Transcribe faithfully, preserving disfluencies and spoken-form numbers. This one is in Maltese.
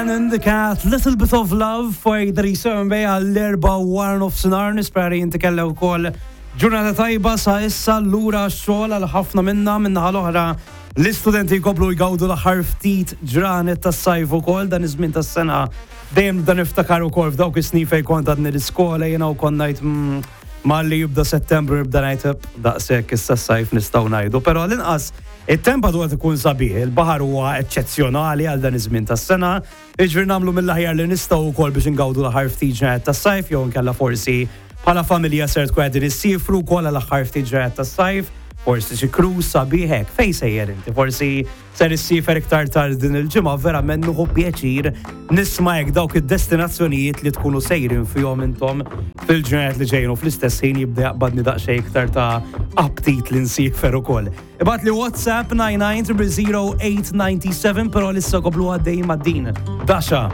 Dan and the Cat, Little Bit of Love for thirty-seven bay għall-erbgħa wara nofsinhar. Nispera inti kellek ukoll ġurnata tajba sa issa. Lura xogħol għal ħafna minna. Min-naħa l-oħra, l-istudenti jkomplu jgawdu l-aħħar ftit ġranet tas-sajf ukoll. Dan iż-żmien tas-sena dejjem dan niftakar ukoll f'dawk is-snin fejn kont għadni l-iskola jiena u kont ngħid mm, malli jibda Settembru jibda ngħid daqshekk, issa s-sajf nistgħu ngħidu, però l-inqas it-temp għadu qed ikun sabiħ, il-baħar huwa eċċezzjonali għal dan iż-żmien tas-sena. Jiġifieri nagħmlu mill-aħjar li nistgħu wkoll biex ingawdu l-aħħar ftit ġranet tas-sajf, jew inkella forsi bħala familja ser tkun qegħdin issifru wkoll għal aħħar ftit ġranet tas-sajf, forsi xi cruise sabiħ hekk. Fejn sejjer inti? Forsi ser issifer iktar tard din il-ġimgħa. Verament nieħu pjaċir nisma' hekk dawk id-destinazzjonijiet li tkunu sejrin fihom intom fil-ġranet li ġejjin u fl-istess ħin jibda jaqbadni daqsxejn iktar ta' aptit li nsifer ukoll. Ibgħatli WhatsApp nine nine zero zero eight nine seven, però issa nkomplu għaddejjin ma' din. Dasha.